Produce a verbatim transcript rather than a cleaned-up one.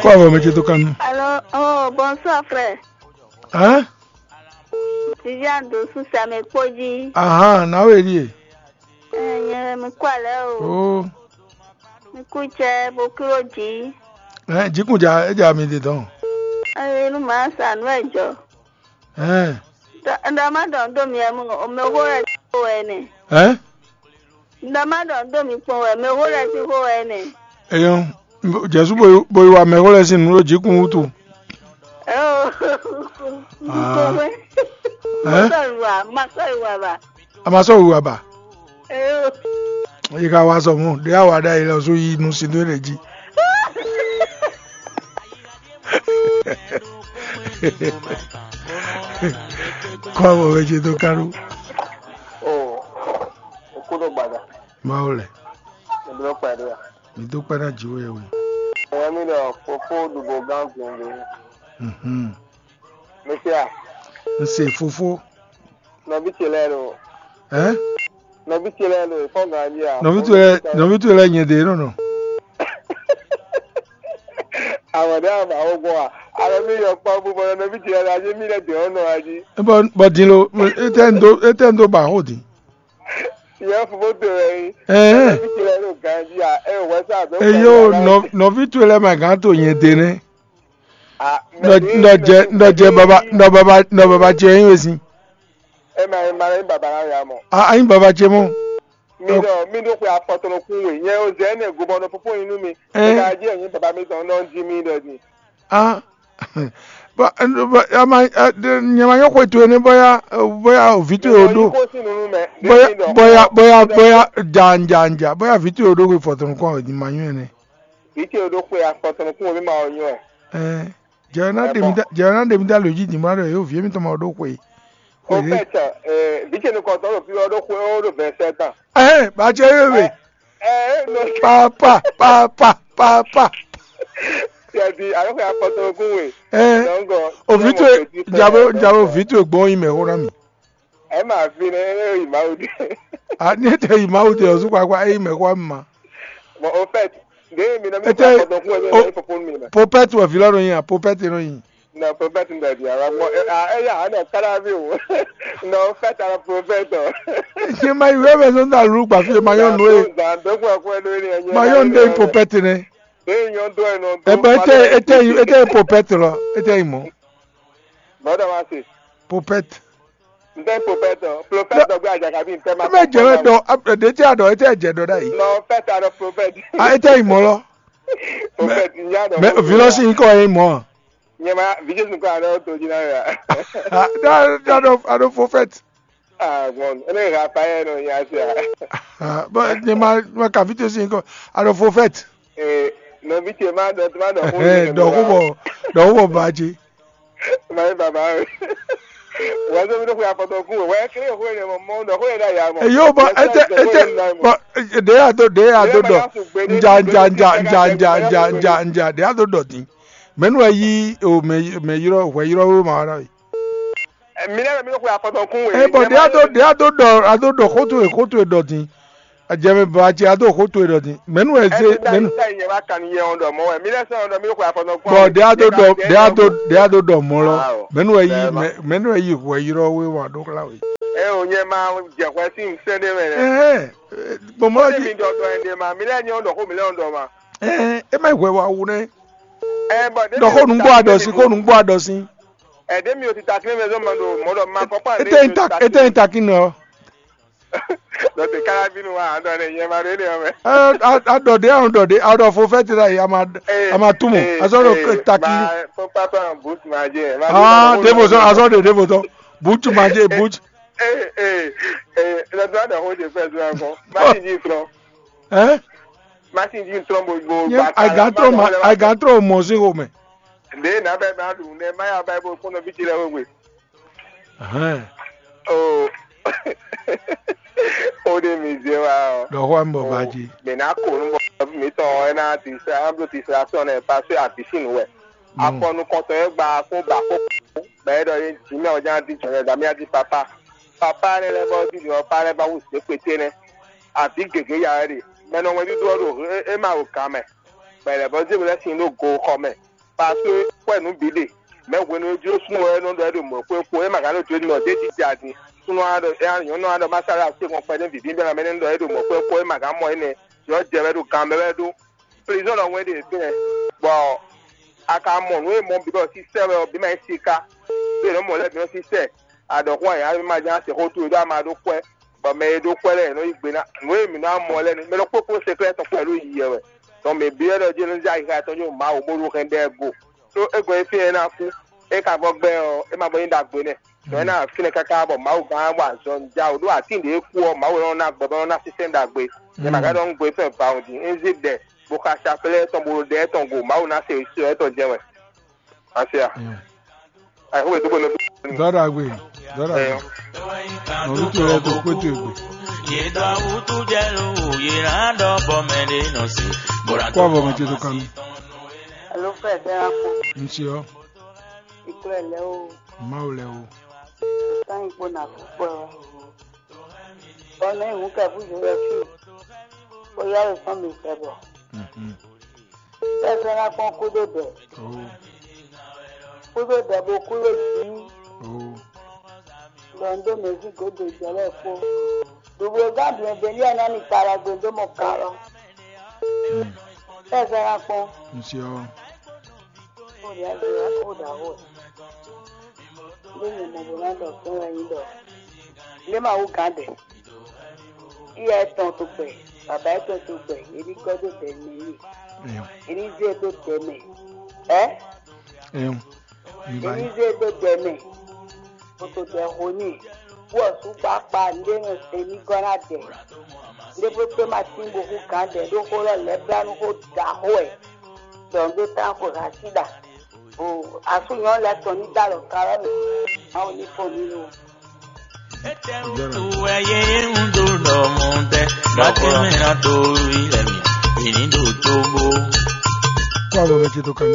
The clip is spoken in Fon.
Kó avɔ mɛ ce dó kan nú. Allô, oh, bonsoir frère. Hein? Viviane de Sousa me kpó jí. Ahan, nǎwe ɖíe. Eh, nyɛ mi kú alɛ o. Oh. Mi kú cɛ bo kúrò jí. Eh, jikun ja, e ja mi de dɔn. Eh, nu ma sa nu e jɔ. Hein. Ɖɔ ma ɖɔ do mi mo o me ho lɛ ko wɛ ne. Hein? Ɖɔ ma ɖɔ do mi kpɔn wɛ me ho lɛ ti ho wɛ ne. Eyɔn, Jésù bo yi wa mɛ ho lɛ sin nu ɖo jikun wutu. Oh. Ah. Ko wɛ. Hein? Ma sɔ yi wa, ma sɔ yi wa ba. A ma sɔ wu aba. Eyɔn. Yi ka wa sɔ mɔ, ɖe awa ɖe ayi lɛ so yi nu sin do ɖe jí. Kó avɔ wɛ ce dó kánú. Oh, o kúɖó gbada. Mawu lɛ. Ìdúró pàdé à. Mi dó kpɛ́ ná jǐ wɛ we. Ẹ̀yọ́ mi ɖɔ fofó ɖubo gán gbòǹgbò. Mhm. Mɛsíà. N se fofó. Nɔví ce lɛ́ɛ ɖo. Ɛ? Nɔví ce lɛ́ɛ ɖo ìfɔ́ngǎn jí à. Nɔví towe lɛ́ɛ, nɔví towe lɛ́ɛ nyɛ ɖe nɔ nɔ. Àwọn ɖé àwọn àwọn gbɔn à. Àwọn mi yɔ kpɔ bó bɔ nɔví ce lɛ́ɛ ɖo ajé mi lɛ́ɛ dè ɔ́ nɔ wá jí. Bɔ bɔ din lo, etɛ n do etɛ n do ba xó din. Ìyẹn fofó towe wɛ yí. Ɛɛ. Nɔví ce lɛ́ɛ ɖo gǎn jí à. Ɛ wɛ sá àbẹ. Eyo nɔví towe lɛ́ɛ ma gǎn to nyɛ ɖe nɛ́. Nɔ jɛ nɔ jɛ baba nɔ baba nɔ baba ce nyí wezin. Ema ema lɛ baba la ya mɔ. A anyi baba ce mɔ. Mi ɖɔ mi ɖo xwe afɔtɔnɔ kun we nyɛ o zɛ ne gobɔnɔ popo yin nú mi. Ɛɛ. Ka jɛ nyi baba mi tɔn nɔ di mi ɖɔ di. A bɔ ama nyɛ ma nyɔ xwe towe ne bɔya bɔya ovi towe o ɖo. Bɔya bɔya bɔya bɔya ja ja ja bɔya vi towe o ɖo xwe fɔtɔnɔ kun a o di ma nyɔ ne. Vǐ ce ɖo xwe afɔtɔn kún omi ma ɔ nyɔ ɛ. Ɛɛ, jɛ ɔ́ ná ɖe mì dá jɛ ɔ́ ná ɖe mì dá lǒ jí dǐn bó ná ɖɔ yě ɖo vǐ émítɔn mɛ ɔ́ ɖó xwe. Ó fɛ́ tɛ vǐ ce nukɔntɔn ɖo fí ɔ́ ɖó xwe ó ɖo vɛ̌sɛ́ tɔn. Ɛɛ, bá ce é we. Ɛɛ, nɔ. Papa papa papa. Tiɛ di alo xwe afɔtɔn kún we. Ɛɛ, dɔnkɔ. Òvǐ towe jabo jabo vǐ towe gbɔn yi mɛ xó ná mi. Ɛ ma fi nɛ ɛ yi Mawu de. A ní ete yi Mawu de ɔzu kpakpa eyi mɛ xɔ ma. Bon, au fait, de mi na mi Ete- kpa kɔdɔ kun ɛ o- mi fofo mi na. Popɛti wɛ vi lɔ nɔ nyi a popɛti nɔ nyi. Na prophet n dadi ala mɔ ɛ a ɛ ya ana kala vi o. Na au fait ala prophet o. Ṣé ma yi wẹ́wẹ́ sọ ní àlùkò àfi ma yọ̀ nù ẹ̀? Dɔkun akɔ ɛ do ni ɛ nyɛ. Ma yọ̀ nù ẹ̀ popɛti nɛ. De nyɔ do ɛ nɔ. Ẹ bọ ete ete ete popɛti lọ ete yi mọ. Bɔdɔ ma se. Popɛti. N tɛ prophet o. Prophet dɔ gbé àjàkà bí n tɛ ma. Ebe jẹ wẹ dɔ ɖe tí a dɔ ete jẹ dɔ ɖa yi. Non, faites à nos prophètes. A ete yi mɔ lɔ. Prophète, n yá dɔ. Mɛ vilɔsi nkɔ yi mɔ. Nyɛma vi Jesu kɔ àná tó jí náà yà. Da da dɔ ado prophet. Ah bon, ene Raphaël no ya sia. Bɔn nyɛma ma ka vi to si nkɔ ado prophet. Eh, non, vite, ma dɔ ma dɔ. Dɔ ko bɔ dɔ ko bɔ ba je. Mayi baba we. Wazɔ mi ɖo xwe afɔtɔ kun o. Wɛ kele xwe ne mɔ mɔ ɖɔ xwe ɖe ya mɔ. Eyo bɔ ete ete bɔ ɖe ya do ɖe ya do dɔ nja nja nja nja nja nja nja nja ɖe ya do dɔ din. Mɛnu wɛ yi o mɛ mɛ yrɔ hwɛ yrɔ wo ma wa na we. Mi lɛ mi ɖo xwe afɔtɔ kun we. E bɔ ɖe ya do ɖe ya do dɔ a do dɔ xótó e xótó e dɔ din. Ajɛ mɛ bɔ a ce a do xó towe ɖɔ din. Mɛnu wɛ zé mɛnu. Bɔ ɖe a do dɔ ɖe a do ɖe a do dɔ mɔ lɔ. Mɛnu wɛ yi mɛnu wɛ yi hwɛ yrɔ we wa ɖo xlá we. Ɛ o nyɛ ma jɛ hwɛ sí nsɛn ɖe mɛ nɛ. Ɛhɛn, gbɔmɔ Ó lɔ lé ji. Mi dɔ dɔ ɛn ɖe ma, mi lɛ nyɛ dɔ xó mi lɛ dɔ ma. Ɛhɛn, e ma yi hwɛ wa wu nɛ. Ɛ bɔ ɖe Dɔ xó nugbo adɔ si xó nugbo adɔ si. Ɛ ɖe mi o ti ta kí mɛ zɔn ma ɖo mɔ ɖɔ ma kɔkɔ. Ete yin ta ete yin ta kí nɔ. Dɔ te kala bínú wa, dɔ ne nyɛ ma ɖo énɛ́ ɔ́ mɛ. A ɖɔ ɖě a ɖɔ ɖě a ɖɔ fo fɛ́ti ɖ'ayǐ a ma a ma túmọ̀ a sɔ́ ɖo taki. Fo papa bus ma jɛ. Ah, ɖěvo sɔ́ a sɔ́ ɖe ɖěvo tɔn. Butsu ma jɛ butsu. Ee ee ee lɔtɔ adɔ xo de fɛ zɔn akɔ. Machine ji trɔ. Hein? Machine ji trɔ bo bo. Nyɛ ba a gan trɔ ma a gan trɔ mɔ sí xo mɛ. Ɖe na bɛ ba ɖu ne ma ya ba bo kpɔnɔ bi ti lɛ wegbe. Hɛn. O o de mi zé wa o. Ɖɔ xɔ mi bɔ ba ji. Mi na ko nu bɔ mi tɔn ɛ na ti sa an blo ti sa sɔn nɛ parce que a bisi nu wɛ. Afɔ nukɔntɔn yɛ gba ko ba ko bɛɛ dɔ ye jimɛ o jan di jɔnɛ da mi a di papa. Papa ne lɛ bɔ di ni ɔ pa lɛ ba wu se kpete nɛ. Abi gege ya wɛ de. Mɛ nɔ wɛ di do ɔ do e ma o kan mɛ. Bɔ è lɛ̌ bɔ zé we lɛ́ sin ɖó go xɔ mɛ. Parce que xwɛ nǔ bǐ ɖe. Mɛ hwenu e jló súnnu wɛ nɔ ɖɔ é ɖo mɔ̌ xwé xo, é ma ka nɔ jó nɔ ɖé jija din. Súnnu á ɖɔ é nyɔ̌nu á ɖɔ má sáré asé kɔn kpɛɖé vǐví bɛ́ mɛ nɔ ɖɔ é ɖo mɔ̌ xwé xo, é ma ka mɔ énɛ́. Yɔ jɛ wɛ ɖo gan mɛ wɛ ɖó. Prison ɖɔ wɛn ɖe fínɛ́. Bɔ a ka mɔ nǔ e mɔ bǐ bɔ sísɛ wɛ ɔ́, bǐ ma nyí siká. Bí è nɔ mɔ lɛ́ɛ bǐ nɔ sísɛ. Aɖɔ̌xú ayǎ ma ján se xó towe ɖó ama ɖó kwɛ́, bɔ mɛ e ɖó kwɛ́ lɛ́ɛ nɔ yí gbe ná. Nǔ e mǐ nɔ mɔ lɛ́ɛ nɛ́, mɛ ɖokpó kpó sɛklɛ́ tɔn kpɛɖé ɖo yiyi wɛ. Tɔn mɛ bǐ wɛ ɖɔ jí nɔ zé ayixa tɔn jó Mawu bó ɖó hɛn ɖɛ go. Ɖó é gɔn e fínɛ́ é ná kú, é ka vɔ gbɛ ɔ́, é ma bɔ nyí ɖagbe nɛ́. Tɔn é ná fínɛ́ káká bɔ Mawu gán wa azɔn ja wǒ ɖó atín ɖě kú ɔ́, Mawu nɔ ná gbɔ bɔ nɔ ná sísɛ́n ɖagbe. Nyɛ ma ka ɖɔ nú gbe fɛn vawun din, é zé ɖɛ, bó xa saflɛ́ tɔn bó ɖɔ ɖɛ tɔn go, Mawu ná se sɔ tɔn jɛ wɛ. Asia. Ayixo ɖo bɔ nɔ. Dɔɖagbe, dɔɖagbe. Nɔɖu towe ɖo kpótó egbe. Yě dɔ awútú jɛ ló wò, yě ná ɖɔ bɔ mɛ ɖé nɔ se. Kó avɔ mɛ ce tó kán. Alo fɛ fɛ akpo. Ŋutsu ɔ. Ikplɔ lɛ o. Mawu lɛ o. Sán ikpo na kpɔkpɔ. Bɔ mɛ hǔn kɛ fú Jozɛfu. Bó yá lè sɔn mi sɛ bɔ. Bɛ́ sɔ́ ná kpɔ́n kúdó dɛ. Kúdó dɛ bó kúdó jǐ. Ɖɔ un dó mɛ̌si gǒdo jɛ lɛ́ɛ kpó. Ɖubló gán bǐ bɛ́ ní ɔ́ ná mi ta wɛ gbe dó mɔ kan lɔ. Bɛ́ sɔ́ ná kpɔ́n. Ŋutsu ɔ. Ó ɖě azɔ̌ wá kó ɖǎ wɛ. Ndé nyɛ mɔ bó ná ɖɔ kpɛ́n wɛ nyí ɖɔ. Lé ma wú gǎn dɛ. Iya etɔn to gbɛ, baba etɔn to gbɛ, yě ní gɔ́ dó dɛ mɛ n'i. Yě ní zé dó dɛ mɛ. Ɛ? Yě ní zé dó dɛ mɛ. Kòtò dɛ ho n'i. Wú ɔsú kpákpá ndé nɔ sɛn ní gɔ́ ná dɛ. Ndé bó tó ma tín bó hú gǎn dɛ ɖó xó lɔ lɛ́ blá nú xó ɖaxó wɛ. Dɔn dó tán xo ha sí ɖa. O asú nyɔ̌nu lɛ́ɛ tɔn ní dó alɔ ka wɛ mɛ. Mawu ní fɔ mí lo. Ete wutu wɛ yé ń dó ɖɔ mɔ tɛ, bá tɛ mɛ ná tó rí lɛ mi, ìní ɖo tógbó. Kó avɔ mɛ ce tó kán.